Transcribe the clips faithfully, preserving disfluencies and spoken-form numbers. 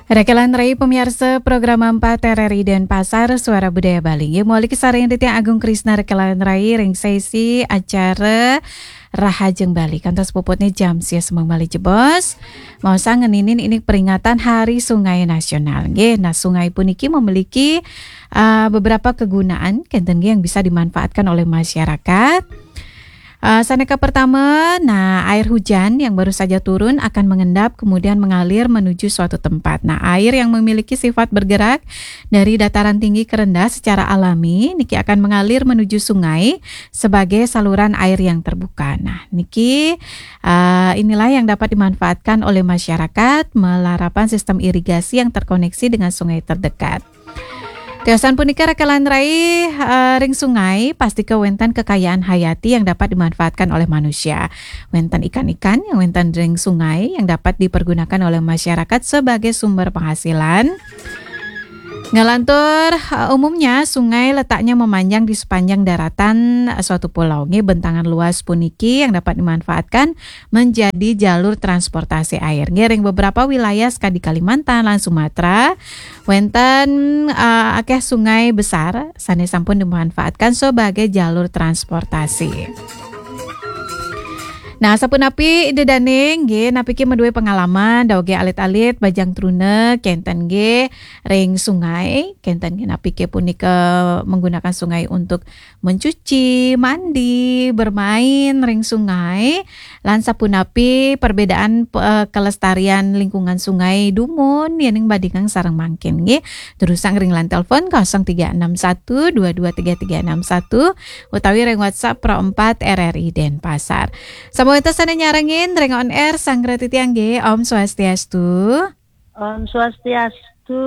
Rekelan rai pamiarsa program empat R R I Denpasar, Suara Budaya Bali. Nggih, mawali kasarengin titiang Agung Krisna rekelan rai ring sesi acara Rahajeng Bali. Kantos puputnya jam sia semeng malih jebos. Maosang ngeninin indik peringatan Hari Sungai Nasional. Nggih, nah, sungai puniki memiliki, ah, beberapa kegunaan, kenten nggih, yang bisa dimanfaatkan oleh masyarakat. Ah, sane kapertama, nah, air hujan yang baru saja turun akan mengendap kemudian mengalir menuju suatu tempat. Nah, air yang memiliki sifat bergerak dari dataran tinggi ke rendah secara alami niki akan mengalir menuju sungai sebagai saluran air yang terbuka. Nah, niki, ah, inilah yang dapat dimanfaatkan oleh masyarakat malarapan sistem irigasi yang terkoneksi dengan sungai terdekat. Tiosan punika rekelan rai, eh, ring sungai, pastika wenten kekayaan hayati yang dapat dimanfaatkan oleh manusia. Wenten ikan-ikan yang wenten ring sungai yang dapat dipergunakan oleh masyarakat sebagai sumber penghasilan. Ngalantur, eh, umumnya sungai letaknya memanjang di sepanjang daratan, eh, suatu pulau. Nggih, bentangan luas puniki yang dapat dimanfaatkan menjadi jalur transportasi air. Nggih, ring beberapa wilayah sekadi Kalimantan lan Sumatera, wenten, eh, akeh sungai besar sane sampun dimanfaatkan sebagai jalur transportasi. Nah, sapunapi Ida Dane, nggih, napike madue pengalaman, dawege alit-alit, bajang truna, kenten nggih, ring sungai, kenten nggih, napike punika menggunakan sungai untuk mencuci, mandi, bermain ring sungai, lan sapunapi perbedaan, eh, kelestarian lingkungan sungai dumun, yening bandingang sareng mangkin, nggih. Durusang ring line telepon kosong tiga enam satu dua dua tiga tiga enam satu utawi ring WhatsApp Pro empat R R I Denpasar. Sampun wenten sane nyarengin ring on air sang titiang nggih. Om Swastiastu. Om Swastiastu,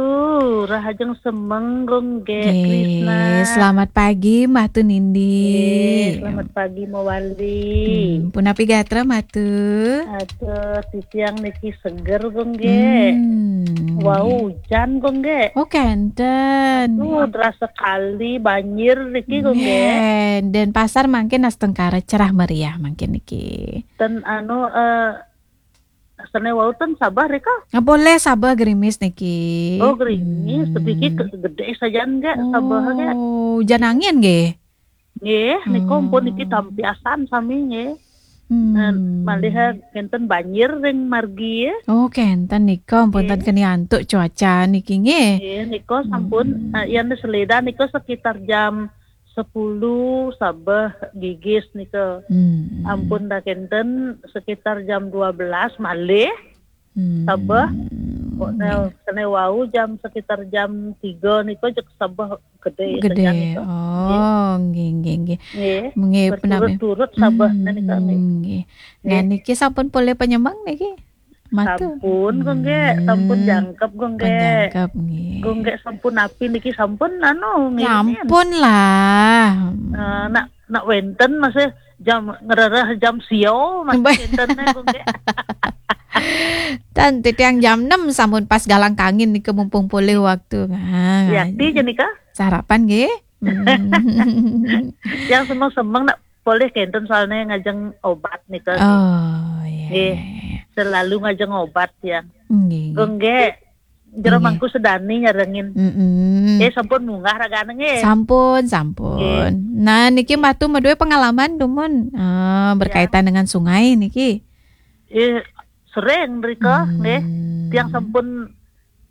rahajeng semeng, Gung Gek Nggih, Krisna. Selamat pagi, Mbah Tunindi. Nggih, selamat pagi, Mawali. Hmm, punapi gatra, Mbah Tu? Aduh, titiang niki seger, Gung Gek. Hmm, Wau nggih. Hujan, Gung Gek. Oh, kenten. Aduh, terasa kali banjir niki, Gung Gek. Nggih, Denpasar mangkin astungkara cerah meriah mangkin niki. Ten anu, eh, Sene wau ten sabeh rika? Ah, polih sabeh gerimis niki. Oh, gerimis. Hmm. Sedikit ke-, gede sajan nggih, sabeh nggih. Oh, hujan angin nggih? Nggih, nika ampun niki tampiasan sami nggih. Hmm. Nah, malih kenten banjir ring margi ya. Oh, kenten nika ampun ten keni antuk cuaca niki nggih. Nggih, nika sampun, eh, yen seleda nika sekitar jam sepuluh sabeh gigis nika. Hmm. Ampun dah kenten sekitar jam dua belas malih. Hmm. Sabeh. Kok nggih. Sene wau jam sekitar jam tiga nika jek sabeh gede. Gede saja nika. Oh, nggih, nggih, nggih. Nggih. Nggih, berturut-turut sabeh nika nggih. Nggih. Nah, nggih. Niki sampun polih penyemang niki? Mata. Sampun, Gung Gek. Sampun jangkep, Gung Gek. Pun jangkep, nggih. Gung Gek sampun api niki sampun anu, ngiring. Sampun lah. Eh, nak, nak wenten masih jam ngerereh jam sio masih wenten nih, Gung Gek. Tan titiang jam enam sampun pas galang kangin nika mumpung polih waktu. Nah, yakti je nika? Sarapan nggih. Hmm. Yang semeng-semeng nak polih kenten soalnya ngajeng obat nika. Oh, iya, nggih. Iya, iya. Selalu ngajeng obat ya. Nggih, nggih. Gung Gek, jero mangku sedani nyarengin. Mm-mm. Eh, sampun munggah ragane nggih. Sampun, sampun. Nggih. Nah, niki Mbah Tu madue pengalaman dumun, eh, berkaitan dengan sungai niki. Eh, sering rika nggih. Hmm. Tiang sampun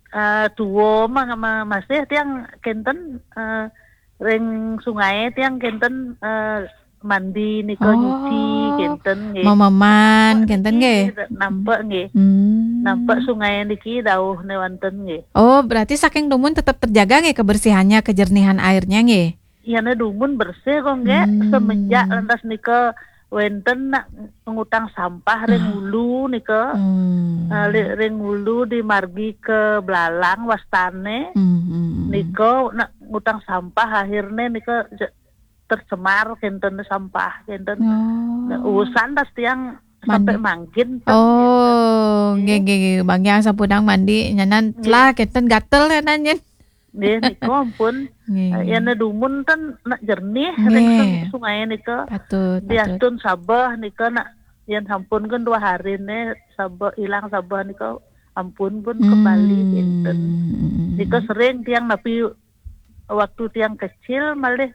eh, tua mah, ma-, masih tiang kenten, eh, ring sungai tiang kenten, eh, mandi nika, nyuci kenten nggih. Mememan kenten nggih. Nampek nggih. Hmm. Nampek sungai niki dauh ne wonten nggih. Oh, berarti saking dumun tetap terjaga nggih kebersihannya, kejernihan airnya nggih. Iyane dumun bersih kok nggih. Hmm. Semenjak lantas nika wenten nak ngutang sampah ring hulu nika. Hmm. Eh, li-, ring hulu di margi ke Belalang wastane. Hmm, hmm, hmm. Nika nak ngutang sampah akhirnya nika je-, tercemar kenten sampah kenten. Oh. Nah, urusan tas tiang sampai mangkin ten. Oh, nggih, nggih, nggih. Bang yang sampun mandi nyanan telah kenten gatel nyanan nyen. Nggih, nika ampun. Nggih. Eh, yen dumun ten nak jernih ring sung-, sungai nika. Patut, patut. Diastun sabeh nika nak yen sampun kan dua hari ne sabeh, ilang sabeh nika ampun pun kembali, hmm, kinten. Hmm. Nika sering tiang napi waktu tiang kecil malih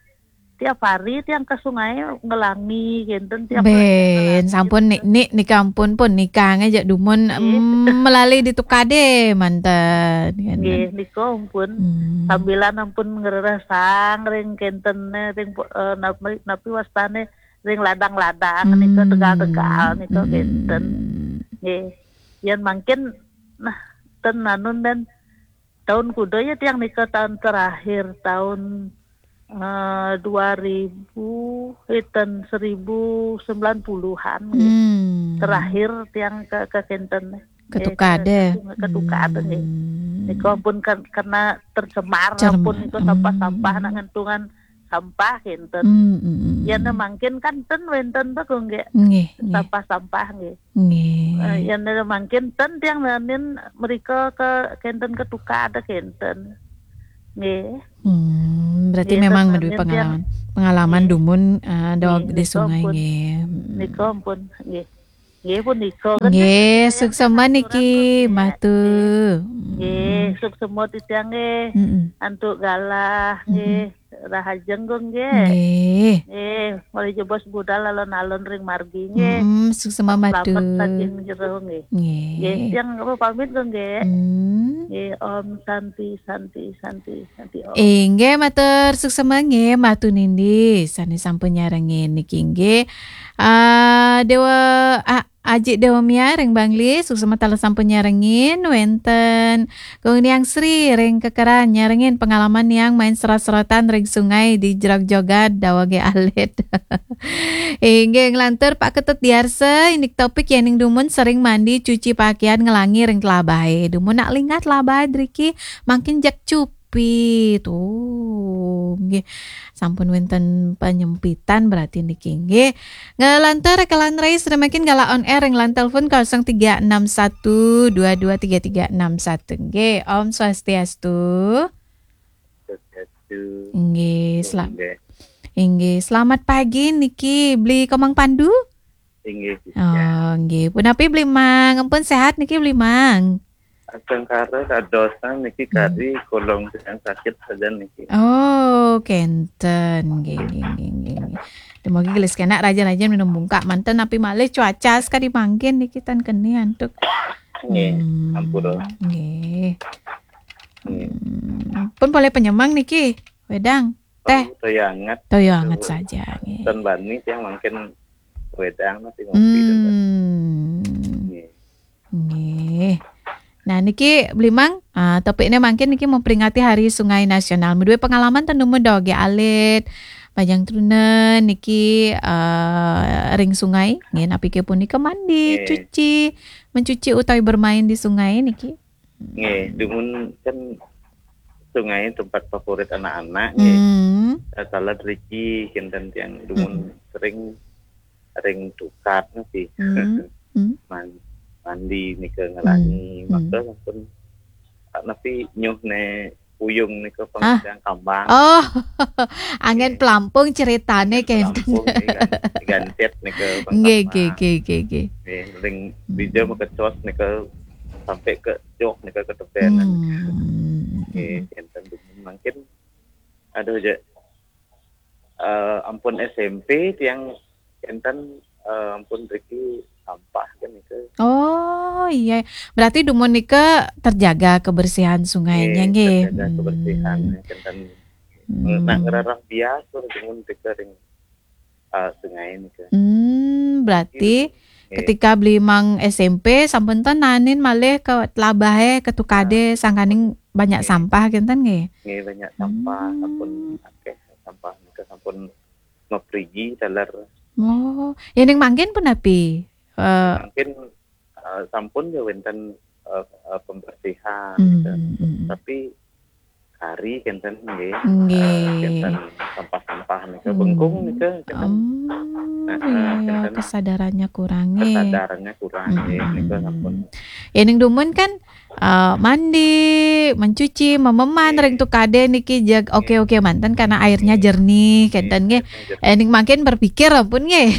tiap hari tiang ke sungai ngelangi, kinten, tiap hari tiang ngelangi, sampun kinten. Nik, nik, nika ampun pun nika ngajak dumun, nggih, em, melali di tukade manten, kinten. Nggih, nika ampun. Hmm. Sambilan ampun ngreresang ring kinten, ring, eh, napi, napi wastane, ring ladang-ladang nika, hmm, tegal-tegal nika, hmm, kinten. Nggih. Yen mangkin, nah, ten anun dan tahun kuda ya tiang nika tahun terakhir, tahun, eh, dua ribu, eh, tahun seribu sembilan puluhan, nggih. Hmm. Terakhir tiang ke, ke kinten. Ke, eh, tukade. Ke, ke tukade, nggih. Hmm. Nika pun kan, karena tercemar, cerem-, pun nika sampah-sampah, hmm, nak ngentungan sampah kinten. Hmm, hmm, hmm. Yen mangkin kan ten wenten beku, nggih. Nggih, nggih. Sampah-sampah, nggih. Nggih. Eh, yen mangkin ten tiang nanin mereka ke kinten, ke tukade kinten. Nggih. Hmm, berarti, nggih, memang ten maduwe nanin tiang pengalaman. Pengalaman, nggih, dumun, eh, daweg, nggih, di nika sungai, pun. Nggih. Hmm. Nika pun, nggih. Nggih, punika, kan, nggih, nggih, suksema niki, nggih, Mbah Tu. Nggih, suksema titiang, nggih. Mm-mm. Antuk galah, mm-mm, nggih. Rahajeng, nggih. Nggih. Nggih, malih jebos budal alon-alon ring margi, nggih. Mm-mm, suksema, Mbah Tu. Slamet saking jero, nggih. Nggih. Nggih, tiang pamit, nggih. Mm. Nggih, Om Santi, Santi, Santi, Santi, Om. Inggih, matur suksema, nggih, Mbah Tu Nindi sane sampun nyarengin niki, nggih. Ah, Dewa, ah, Aji Dewa Mia ring Bangli, suksema taler sampun nyarengin, wenten Gung Niang Sri ring Kekeran nyarengin pengalaman niang main serot-serotan ring sungai di Jerog Jogat, dawege alit. Inggih, nglantur Pak Ketut Diarsa, indik topik yening dumun sering mandi cuci pakaian ngelangi ring telabahe. Dumun nak lingat telabahe driki mangkin jeg cup. Pi, tuh, nggih. Sampun wenten penyempitan berarti niki, nggih. Ngelantur kelan rai sedemikian galah on air ring line telepon kosong tiga enam satu dua dua tiga tiga enam satu. Nggih, Om Swastiastu. Swastiastu. Nggih, sela-, nggih. Inggih, selamat pagi niki Bli Komang Pandu. Inggih, Bli. Oh, nggih. Punapi Bli Mang? Ampun sehat niki Bli Mang? Astungkara dadosan niki, hmm, kari kolong tiang sakit saja niki. Oh, kenten. Nggih, nggih, nggih, nggih, nggih. Dumugi gelis kenak raja-raja minum bungkak manten napi malih cuaca sekadi mangkin niki tan keni antuk. Nggih, hmm, ampura. Nggih. Nggih. Hmm, pun polih penyemang niki, wedang. Teh. Oh, toya anget. Toya anget saja, nggih. Ten bani tiang mangkin wedang nasi ngopi, hmm, ten bani. Nggih. Nggih. Nah, niki Bli Mang, ah, topiknya mangkin niki memperingati Hari Sungai Nasional. Maduwe pengalaman ten dumun dawege alit, majeng truna niki, eh, ring sungai, nggih, napike punika mandi, nggih, cuci, mencuci utawi bermain di sungai niki. Nggih, dumun kan sungai tempat favorit anak-anak, nggih. Hmm. Eh, taler driki kinten tiang dumun, hmm, sering ring tukad niki. Hmm. Hmm. Man-, mandi nika ngelangi, hmm, maka, hmm, sampun, ah, napi nyuh ne puyung nika, ah, pangidang kambang. Oh, anggen, nggih, pelampung ceritane, anggen kenten. Pelampung nika, gantet nika, nggih, pangkambang. Nggih, nggih, nggih, nggih. Nggih, ring, hmm, dija makecos nika sampai ke joh nika ketebenan. Hmm. Nggih, kenten dumun mangkin. Aduh, je. Eh, ampun S M P tiang kenten, eh, ampun driki sampah kan itu. Oh, iya. Berarti dumun nika terjaga kebersihan sungainya, nggih, nggih, terjaga, hmm, kebersihan, kenten. Hmm. Nak ngerarah bias pun dumun nika ring, eh, sungai nika. Hmm, berarti, nggih, ketika Bli Mang S M P sampun ten nanin malih ke telabahe, ke tukade, ah, sangkaning banyak, nggih, sampah kenten, nggih? Nggih, banyak sampah, hmm, sampun akeh sampah nika sampun maprigi taler. Oh, ya ning mangkin punapi? Eh, mangkin, eh, sampun ya wenten, eh, eh, pembersihan, hmm, gitu. Hmm, hmm. Tapi kari kenten nggih. Nggih. Eh, kenten sampah-sampah nika, hmm, bengkung nika kenten. Hmm, nah, iya, eh, iya, kenten kesadarannya kurang, nggih. Kesadarannya kurang, nggih, hmm, nika sampun. Ya ning dumun kan eh, mandi, mencuci, mememan, ring tukade niki jeg oke-oke manten karena airnya jernih, kenten nggih. Eh, ning mangkin berpikir ampun nggih.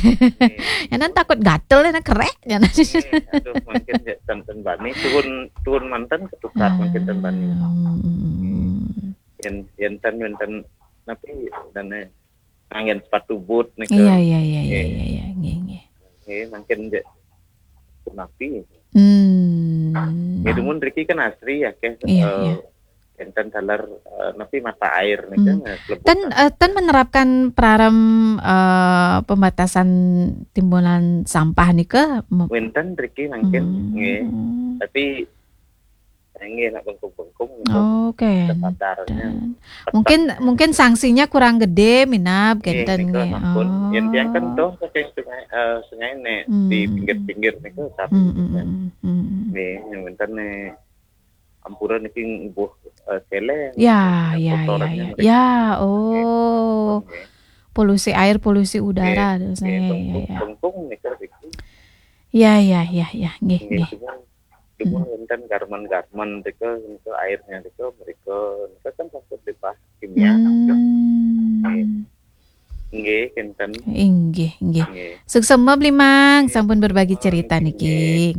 Yanan takut gatel, yanan kerek, yanan. Aduh, mangkin ya, ten, ten bani, tuhun, tuhun manten ketukar mangkin ten bani. Hmm. Yen, yen ten, yen ten, napi, dan, eh, nganggen sepatu boot nika. Iya, iya, iya, iya, iya, iya, nggih, nggih. Nggih, mangkin je, napi. Hmm. Ya, dumun riki kan asri ya, ke, Iya, eh, iya. Enten taler, eh, napi mata air nika, Hmm. eh, kelebutan. Ten, eh, ten menerapkan praram, eh, pembatasan timbunan sampah nika? Mem- Wenten riki mangkin, Hmm. nggih. Tapi nggih nak bengkung-bengkung nika. Oke. Sepadarnya. Mungkin, mungkin sanksinya kurang gede, minab, Nggih, kenten nika nggih. sampun. Yen tiang kan Oh. toh saking sungai, eh, sungai nek Hmm. di pinggir-pinggir nika tapi. Hmm, hmm, hmm, hmm, hmm. Nggih, yang wenten nih ampura niki ngubuh, eh, celeng. Ya, ya, ya, Kotorannya ya. mereka. Ya, oh. Nggih. Polusi air, polusi udara, Nggih, terus nggih, ya, ya, bengkung, ya. Bengkung nika riki. Ya, ya, ya, ya, nggih, Nggih, nggih. cuman, cuman wenten garmen-garmen rika, rika airnya rika, mereka, mereka kan takut limbah kimia. Hmm. Nggih, kenten. Inggih, inggih. Nggih. Suksma Bli Mang, sampun berbagi cerita Nggih. Niki.